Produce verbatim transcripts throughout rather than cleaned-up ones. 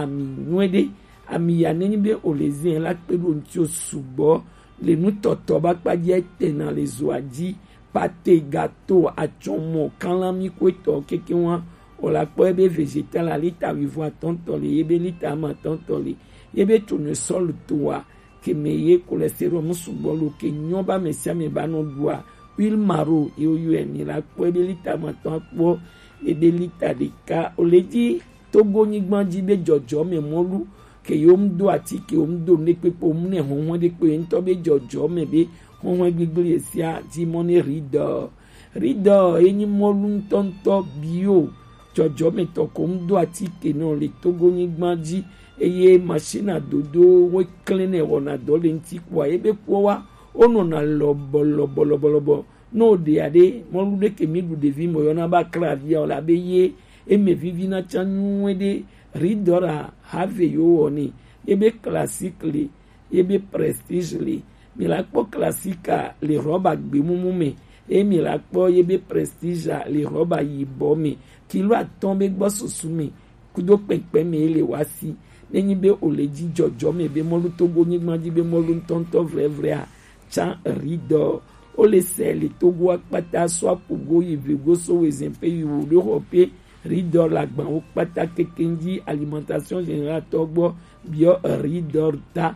ami nyuie ɖe. Ami ya nenyi be o le zin la kpe ɖo ŋuti o sugbɔ le nutɔtɔ ba kpa dzi etena le zoa dzi. Pate, gato, atsɔmɔ, kanlami ko etɔ keke wa o la kpɔ ebe vegetal a lita wivɔ atɔntɔ le, ebe lita ama atɔntɔ le, ebe tournesol toa keme ye cholestérol mu sugbɔ lo ke nyɔ ba mɛ sia mɛ ba nɔ ɖua. Huile maro ye o yɔ ɛ ni la kpɔ ebe lita ama atɔn akpɔ ebe lita ɖeka o le dzi. Togo nyigban dzi be jɔjɔme mɔlu ke yewo mu do atike, wo mu do nɖe kpekpe, wo mu nɛ hɔnhɔn ɖe kpe ŋutɔ be jɔjɔme be hɔnhɔn gbigble ye sia dzi mɔ ne Ridor. Ridor ye nyi mɔlu ŋutɔŋutɔ bio jɔjɔme tɔ ko mu do atike nɔ le Togo nyigban dzi eye machine adodo wo klɛn nɛ wɔna dɔ le ŋuti kpɔa ye be kpɔ wa wo nɔna lɔbɔ lɔbɔ lɔbɔ lɔbɔ. Ne o ɖe aɖe mɔlu ɖe ke mi ɖu ɖevi me yɔna be aklavi ya o la be ye eme vivi na tsa nyuie ɖe. Ridora have yo wɔ ne ye be classique le ye be prestige le. Mi la kpɔ classique le rɔba gbemumu me ye mi la kpɔ ye be prestige le rɔba yibɔ me. Kilo atɔn be gbɔ susu me kudo kpɛnkpɛn me ye le wa si. Nenyi be o le dzi jɔjɔ me be mɔlu Togo nyigban dzi be mɔlu ŋutɔŋutɔ vlɛvlɛa tsa Ridor. O le sɛ le Togo akpata so apugo yi vego so wezɛn pe yi wu ɖo xɔ pe Ridor la gban wo kpata keke dzi alimentation générale tɔ gbɔ biɔ Ridor ta.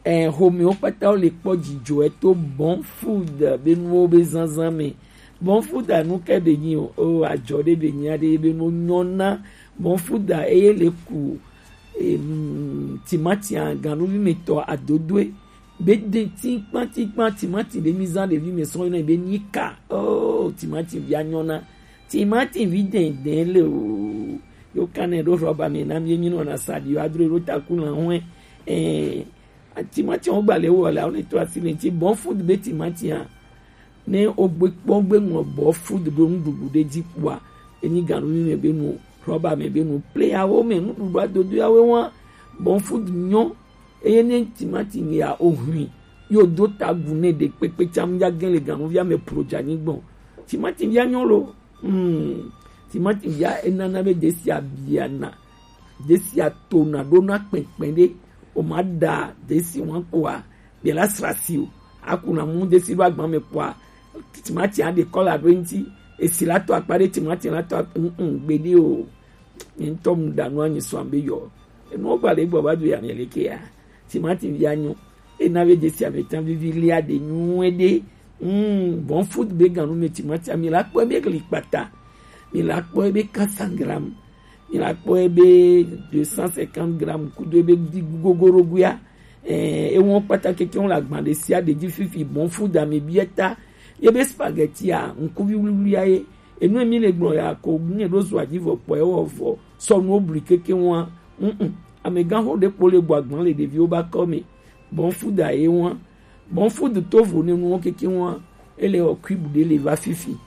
Ɛ, xomewo kpata wo le kpɔ dzidzɔ eto Bon Food be nuwo be zanzan me. Bon Food anu ke be nyi o, o ajɔ ɖe be nyi aɖe be no nyɔna. Bon Food eye le ku em, timati a ganuvi me tɔ adodoe be de tinkpan tinkpan timati ɖe mi zan ɖevi me sɔn yɔna be nika. Oh, timati via nyɔna. Timati vi dɛndɛn le o. Yo kanɛ ɖo rɔba me na mi mi nɔna sa ɖi yo adro ɖo taku na hɔn. Eh, timati wo gba le wo la o ne to asi le ti Bon Food be timati a. Ne o gbe kpɔ gbe ŋlɔ Bon Food be nuɖuɖu ɖe dzi kpɔa, enyi ganuvi me be nu, rɔba me be nu, pleyawo me nuɖuɖu adodo yawo wa Bon Food nyɔ. Eye ne timati ya o hui yo do tagu ne ɖe kpekpe tsam ya gen le ganuvia me pro dza nyi gbɔn. Timati via nyɔ lo. Hmm. Timati via enana be desi abiana. Desi atona ɖo na kpɛnkpɛn ɖe. O ma ɖa desi wan kpɔa be la srasi o. Aku na mu desi ɖo agban me kpɔa timati a ɖe kɔla ɖo ŋuti. Esi la tɔ akpa ɖe timati la tɔ mm mm gbeɖe o. Mi ŋutɔ mu ɖa nu anyi sɔ be yɔ. Enuwo gba le gbɔ va do ya mi le ke ya. Timati via nyɔ. Ena be desi ame tã vivi lia ɖe nyuie ɖe. Mm, Bon Food be ganu me timati mi la kpɔ be gli kpata. Mi la kpɔ be quatre cents grammes. Mi la kpɔ be deux cent cinquante grammes kudo be di gogoro guya. Eh, ewɔn kpata keke wɔn le agban ɖe sia ɖe dzi fifi Bon Food ame biɛ ta. Ye be spaghetti a, ŋkuvi wluwlua ye. Enu mi le gblɔ ya ko ne ɖo zɔ adzi vɔ kpɔ ewɔ vɔ sɔ nuwo bli keke wɔn. Mm mm. Amegã ho ɖe kpo le gbɔ agban le ɖeviwo ba kɔ me. Bon Food a ye wɔn. Bon Food to vo ne nuwo keke wɔn. Ele wɔ kuibu ɖe le va fifi.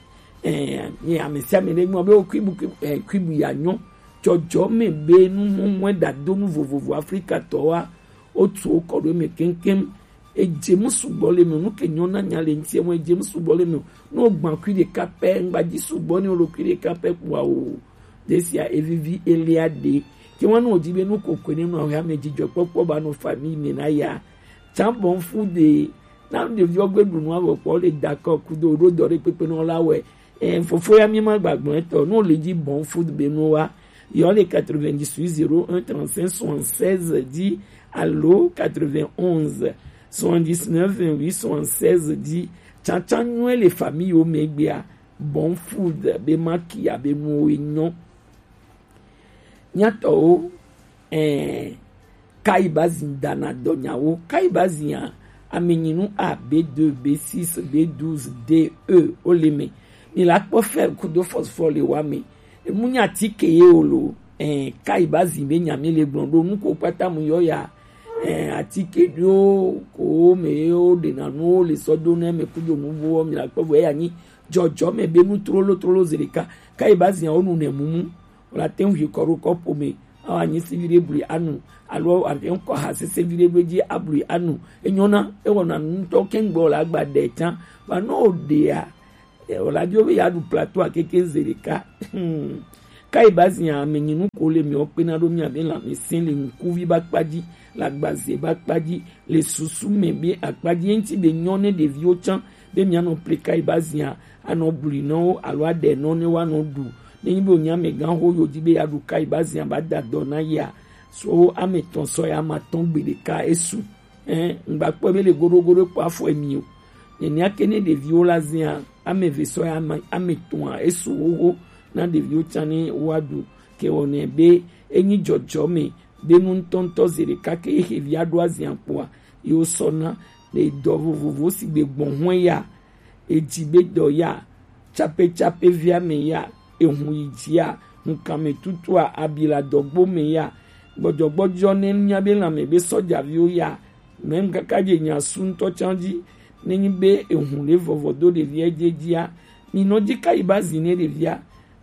Eh, ye ame sia ame ɖe gbɔ be wo kuibu, kuibu, eh, kuibu ya nyɔ. Jɔjɔ me be nu mɔmɔe ɖadonu vovovo Afrika tɔ wa. Wotu wo kɔ ɖo eme keŋkeŋ. Edze mu sugbɔ le eme, nu ke nyɔ na nya le ŋuti eme, edze mu sugbɔ le eme. Ne wogba kui ɖeka pɛ, ŋgba dzi sugbɔ ne wolo kui ɖeka pɛ kpɔa o. Ɖe sia evivi elia ɖe. Ke wɔn wodi be nu kokoe ne nɔ ya me dzidzɔ kpɔkpɔ ba nɔ famille me na ya. Tsã Bon Food ɖe na ɖeviwo gbe ɖu nua vɔ kpɔ le dakɔ kudo ɖo dɔ ɖe kpekpe nɔ la wɛ. Eh, fofo ya mi ma gbagblɔ etɔ. No le dzi Bon Food be no wa. Yɔ le quatre-vingt-dix-huit zéro un trente-cinq soixante-seize dzi alo quatre-vingt-onze soixante-dix-neuf vingt-huit soixante-seize dzi. Tsantsan nyuie le famille wo me gbea. Bon Food be ma kia be nuwo nyɔ. Nyatɔwo, eh, Kayi Bazin dana dɔnyawo. Kayi Bazin a, amenyinu A, B deux, B six, B douze, D, E, wo le me. Mi la kpɔ fer kudo phosphore le wa me. Emu nya atike ye o lo. Eh, Kayi Bazin be nya mi le gblɔ ɖo nu ko kpata mu yɔ ya. Eh, atike ɖo ko me ye wo ɖena nuwo le sɔ do ne me kudo nu bo mi la kpɔ bo ya nyi jɔjɔ me be nu trolo trolo zi ɖeka. Kayi Bazin a wo nu ne mumu. Wòle ate ŋu yi kɔ ɖo kɔpo me, awɔ anyi si viɖe blui anu, alo ate ŋu kɔ ha sese viɖe ɖo edzi ablui anu. Enyɔna, ewɔna nu ŋutɔ keŋ gbɔ wòle agba ɖe tsã. Vɔ ne wòɖea, eh, wòle adi wo be yeaɖu plateau a keke ze ɖeka. Hmm. Kayi ba zia ame nyi nu ko le mi o kpena ɖo mi abe lanmɛsɛn le ŋkuvi ba kpa ji, le agbaze ba kpa ji, le susu mɛ be akpa ji. Eŋti be nyɔ ne ɖeviwo can be mia nɔ ple kayi ba zia, anɔ bli nɔ wo alo aɖe nɔ ne wa nɔ ɖu. Ne nyi be o nya amɛgan ho yo ji be ya ɖu kayi ba zia ba da dɔ na ya, so ame tɔn sɔ ya ma tɔn gbe ɖeka esu. Ɛn, ŋgba kpɔe be le goɖogoɖo kpɔ afɔ emi o. Nɛnɛ ake ne ɖeviwo la zia, ame eve sɔ ya ma ame tɔn a esu wowo na ɖeviwo can ne wa ɖu. Ke wɔ nɛ be enyi jɔjɔ mɛ be nu ŋutɔŋutɔ ze ɖeka ke ehe via ɖo azia kpoa, yo sɔ na le dɔ vovovo si gbe gbɔn hɔn ya, eji be dɔ ya, capecapevia mɛ ya, ehun yi jia, hunkanmɛtutua, abiladɔgbo mɛ ya, gbɔjɔgbɔjɔ ne mia be lanmɛ be sɔjaviwo ya, mɛ kaka je nya su ŋutɔ can ji, ne nyi be ehun le vɔvɔ do ɖevia je jia, mi nɔ ji kayi ba zi ne ɖevia,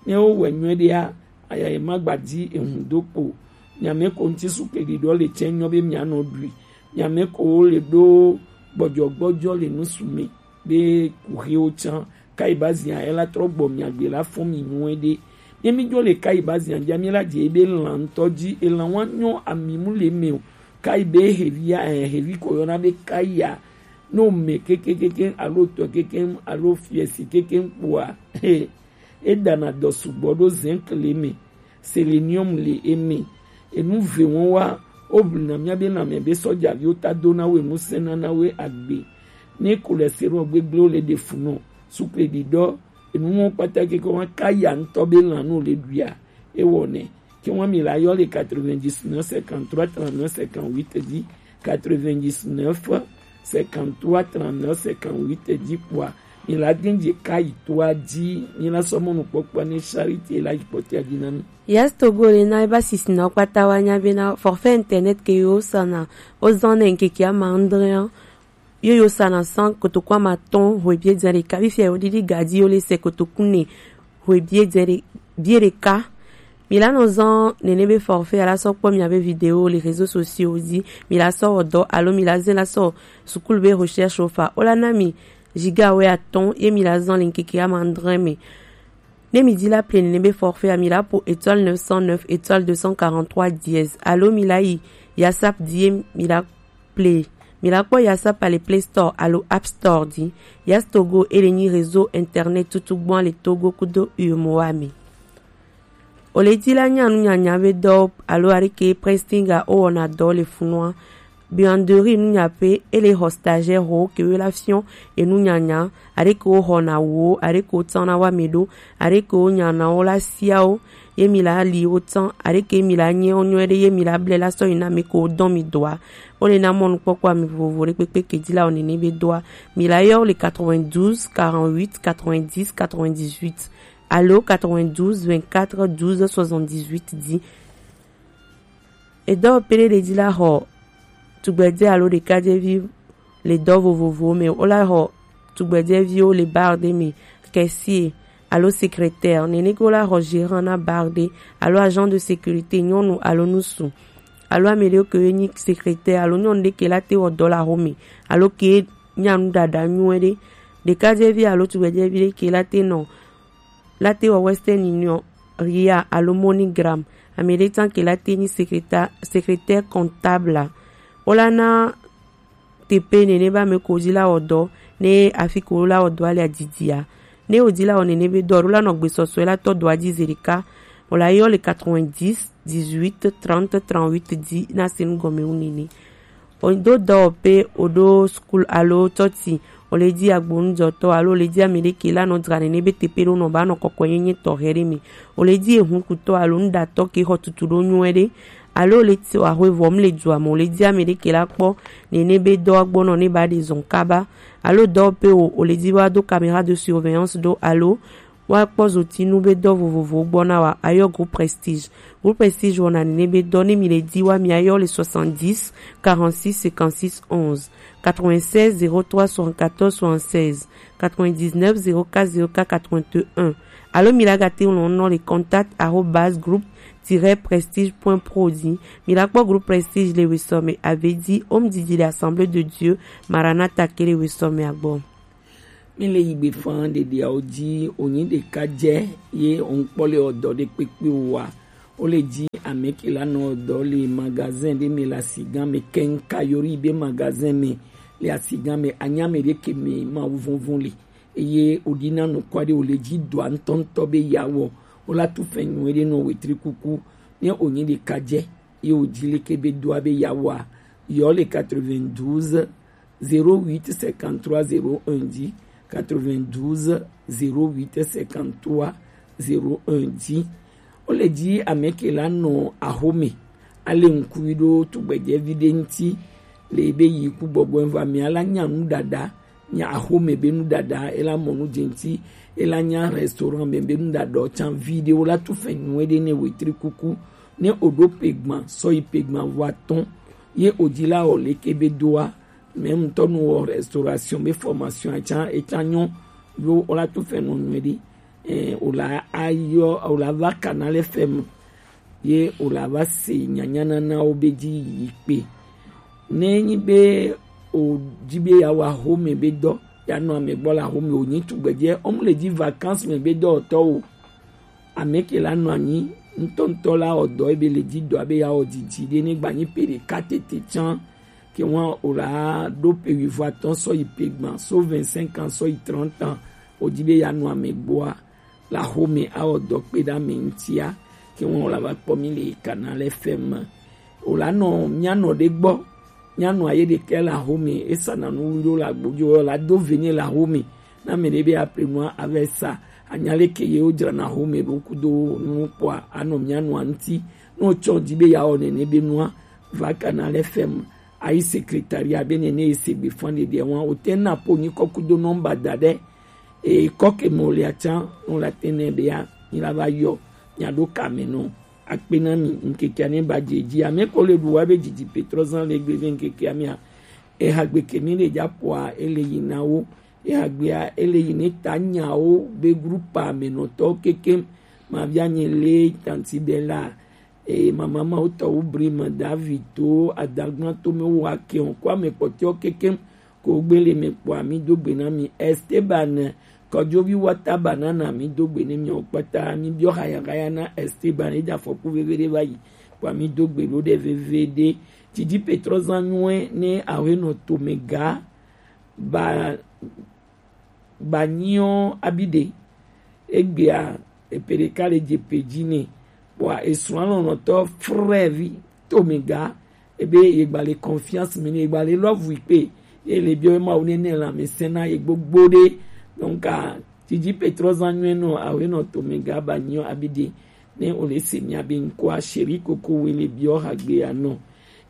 ne wo wɛ nyuie ɖea, aya ye ma gba di ehun do kpo. Miame ko ŋuti su kpeɖiɖɔ le tsɛ nyɔ be mianɔ ɖui. Miame ko wo le ɖo gbɔjɔgbɔjɔ le nusu me be kuxiwo can. Kayi ba zia ela trɔ gbɔ miagbe la fɔn mi nyuie ɖe. Ye mi jo le kayi ba zia ja mi la je be lan ŋutɔ ji elan wa nyɔ ami mu le me o. Kayi be hevia eh, hevi ko yɔna be kayi a. No me kekekeke alo tɔ keke alo fiesi keke kpoa. Edana dɔ sugbɔ ɖo zinc le eme, selenium le eme, enu ve wɔn wa. Woblina míabe lãme be sɔjaviwo ta dona wo enu sẽna na wo agbe. Ne cholestérol gbegblẽ wo le ɖe fu nɔ, sukle ɖiɖɔ, enu wɔn kpata keke wɔn ka ya ŋutɔ be lã nu le ɖuia, ewɔnɛ. Ke wɔn mi la yɔ le quatre-vingt-dix-neuf cinquante-trois trente-neuf cinquante-huit di. Quatre-vingt-dix-neuf cinquante-trois trente-neuf cinquante-huit di kpoa, mi la gbeŋ dze ka yi toa dzi, mi la sɔ mɔnukpɔkpɔ ne charité la yi kpɔtɔa dzi na mi. Yes Togo le na eba sisi na kpata wa nya be na forfait internet ke yo sana o zan ne nkeke ama andre an. Yo yo sana san kotoku ama tɔn hwe bie dze ɖeka bi fia yo didi gadi yo le se kotoku ne hwe bie dze ɖe bie ɖeka. Mi la nɔ zan nene be forfait ala sɔ kpɔ miabe vidéo le réseaux sociaux dzi. Mi la sɔ wɔ dɔ alo mi la ze la sɔ sukulu be recherche ofa o la na mi giga wɛ atɔn ye mi la zan le nkeke ama andre me. Ne mi di la ple nene be forfait a mi la po étoile neuf cent neuf étoile deux cent quarante-trois dièse alo mi la yi yasap di ye mi la ple. Mi la kpɔ yasap a le Play Store alo App Store di. Yas Togo e le nyi réseau internet tutu gbɔn a le Togo kudo U E M O A me. O le di la nya nu nyanya be dɔ alo arike prestinga o wɔna dɔ le funua. Buanderie nu nya pe e le xɔ stagiaire ho ke we la fiɔn e nu nyanya arike o xɔ na wo arike o tan na wa me ɖo arike o nya na wo la sia wo. Ye mi la li wo tan arike mi la nyɛ wo nyɔɛ ɖe ye mi la blɛ la sɔ yi na mi ko dɔn mi doa. Wo le na mɔnukpɔkpɔ ami vovovo ɖe kpekpe ke di la o nene be doa. Mi la yɔ wo le quatre-vingt-douze quarante-huit quatre-vingt-dix quatre-vingt-dix-huit alo quatre-vingt-douze vingt-quatre douze soixante-dix-huit di. Edɔ pele ɖe di la xɔ tugbɛdze alo ɖekadzevi le dɔ vovovowo me. Wo la xɔ tugbɛdzeviwo le bar ɖe me, caissier alo secrétaire. Nene ke wo la xɔ gérant na bar ɖe alo agent de sécurité nyɔnu alo ŋutsu alo ame ɖewo ke ye nyi secrétaire alo nyɔnu ɖe ke la te wɔ dɔ le axome alo ke nya nu ɖaɖa nyuie ɖe. Ɖekadzevi alo tugbɛdzevi ɖe ke la te nɔ la te wɔ Western Union, Ria alo MoneyGram. Ame ɖe tsan ke la te nyi secrétaire, secrétaire comptable. Wo la na teƒe nene be ame ko dzi la wɔ dɔ ne afi ko la wɔ dɔa le adidia. Ne wòdi la wɔ nene be dɔ ɖo la nɔ gbesɔsɔe la tɔ dɔa dzi zi ɖeka. Wòla yɔ le quatre-vingt-dix dix-huit trente trente-huit di na se nu gɔme wu nene. Wòdo dɔwɔƒe, wòɖo skul alo tsɔtsi, wòle dzi agbonudɔtɔ alo wòle dzi ame ɖe ke la nɔ dzra nene be teƒe ɖo nɔ ba nɔ kɔkɔenyenye tɔxɛ ɖe me. Wòle dzi ehunkutɔ alo nuɖatɔ ke xɔ tutu ɖo nyuie ɖe. Alo le tso ahwe vɔ mu le dua me o le dzi ame ɖe ke la kpɔ nene be dɔa gbɔ nɔ ne ba ɖe zɔn kaba. Alo dɔwɔƒe o o le dzi wa do caméra de surveillance ɖo alo wa kpɔ zotinu be dɔ vovovowo gbɔ na wa ayɔ groupe Prestige. Groupe Prestige wɔna nene be dɔ ne mi le dzi wa mi ayɔ le soixante-dix quarante-six cinquante-six onze, quatre-vingt-seize zéro trois soixante-quatorze soixante-seize, quatre-vingt-dix-neuf zéro quatre zéro quatre quatre-vingt-un. Alo mi la gate ŋlɔ nɔ le contact arobase groupe tiret prestige point pro di. Mi la kpɔ groupe Prestige le wesɔ me ave di home didi le Assemblée de Dieu Maranatha ke le wesɔ me agbɔ. Mi le yi gbe fan ɖeɖeawo ji, wònyi ɖeka jɛ ye òun kpɔ le ɔdɔ ɖe kpekpe o wa. Wo le ji amɛ ke la nɔ ɔdɔ le magazin ɖe mɛ le asigan mɛ kɛŋka yori be magazin mɛ le asigan mɛ anyame ɖe ke mɛ ma vɔnvɔn le. Eye wòɖi na nukwa ɖe wòle ji dɔa ŋutɔŋutɔ be ya wɔ. Wo la tu fɛn nyuie ɖe nɔ wetri kuku ne wònyi ɖeka jɛ ye wòji leke be doa be ya wɔa. Yɔ le quatre-vingt-douze zéro huit cinquante-trois zéro un dzi, quatre-vingt-douze zéro huit cinquante-trois zéro un dzi. Wo le ji amɛ ke la nɔ axome ale ŋkui ɖo tugbedzɛvi ɖe ŋuti le be yi ku gbɔgbɔ va mia la nya nu ɖaɖa nya axome be nu ɖaɖa ela mɔ nu dze ŋuti ela nya restaurant me be nu ɖaɖa can vi ɖe wo la tu fɛn nyuie ɖe ne wetri kuku ne oɖo pegban sɔ yi pegban vɔ atɔ̃ ye odzi la wɔ leke be doa. Mɛ ŋutɔ nu wɔ restauration be formation acan ecan nyɔ yo wo la tu fɛn nɔ nyuie ɖe. Eh, wòle ayɔ wòle ava Canal F M ye wòle ava se nyanyananawo be dzi yi kpe. Ne enyi be wòdi be yeawɔ axome be dɔ, yeanɔ ame gbɔ le axome wònyi tugbedzɛ, womle dzi vacances me be dɔwɔtɔ o. Ame ke la nɔ anyi ŋutɔŋutɔ la wɔ dɔ ebe le dzi dɔa be yeawɔ didi ɖe ne gbanyi pe ɖeka tete can ke ŋua wòle aɖo pe wuivo atɔ̃ sɔ yi pe gbã so vingt-cinq ans sɔ yi trente ans wòdi be yeanɔ ame gbɔa le axome awɔ dɔ kpe ɖe ame ŋutia ke ŋua wòle ava kpɔ mi le Canal F M me. Wòle anɔ mianɔ ɖe gbɔ. Nyɔnua ye ɖekɛ le axome, esana nu ɖo le agbo dzi, wòle ado ve nɛ le axome. Na ame ɖe be aple nua ava sa, anya leke ye wodzrana axome ɖo kudo nu kpɔa, anɔ mianua ŋuti. Ne wotsɔ dzi be yeawɔ nene be nua, va Canal F M, ayi secrétariat be nene ye se gbe fɔn ɖeɖea wa, wote na po nyikɔ kudo nɔmba da ɖe. E kɔ ke mo le atsa, no la te ne be ya, ni la va yɔ, nya ɖo kame no. Akpe na mi, ŋkekea ne ba dze dzi. Ame ko le ɖu wa be didi Petrozan le gbe ve ŋkekea mia. Ehagbe ke mi le dza poa, ele yi na wo. Ehagbea, ele yi ne ta nyawo be grupa me nɔtɔ kekem. Ma via nye le tanti de la. E mama ma wotɔ wo bri ma David to adagban to me wo ake on kwa me kpɔtɔ kekem. Ko gbele me kpɔa mi do gbe na mi Esteban, kɔdzovi wata banana mi do gbe ne mi o kpata mi biɔ haya haya na Esteban e da fɔku veve de va yi. Kpɔa mi do gbe lo de veve de. Didi Petrozan nyuie ne awe nɔ to me ga ba ba nyiɔ abi de. Egbea epe ɖeka le dze pe dzi nɛ. Kpɔa esrɔ̃ lɔlɔ̃tɔ frère vi to me ga ebe yegba le confiance me ne yegba le love yi kpe ye le biɔ Mawu ne ne lãmesẽ na ye gbogbo ɖe. Donc a didi Petrozan nyuie nɔ awe nɔ to me ga ba nyiɔ abi de ne o le se mia be ŋkɔa Chéri Koko we le biɔ hagbe ya nɔ.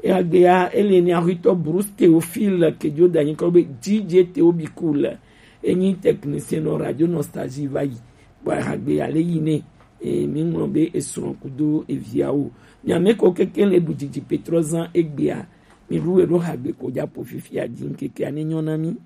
Ehagbea ele ne ahwitɔ Bruce Théophile ke dzo da nyikɔ be D J Théo Bikul. Enyi technicien nɔ Radio Nostalgie va yi. Kpɔa ehagbea le yi ne e mi ŋlɔ be esrɔ̃ kudo eviawo. Mia me ko keke le ɖu didi Petrozan egbea. Mi ɖu eɖo hagbe ko dza po fifia dzi ŋkekea ne nyɔ na mi.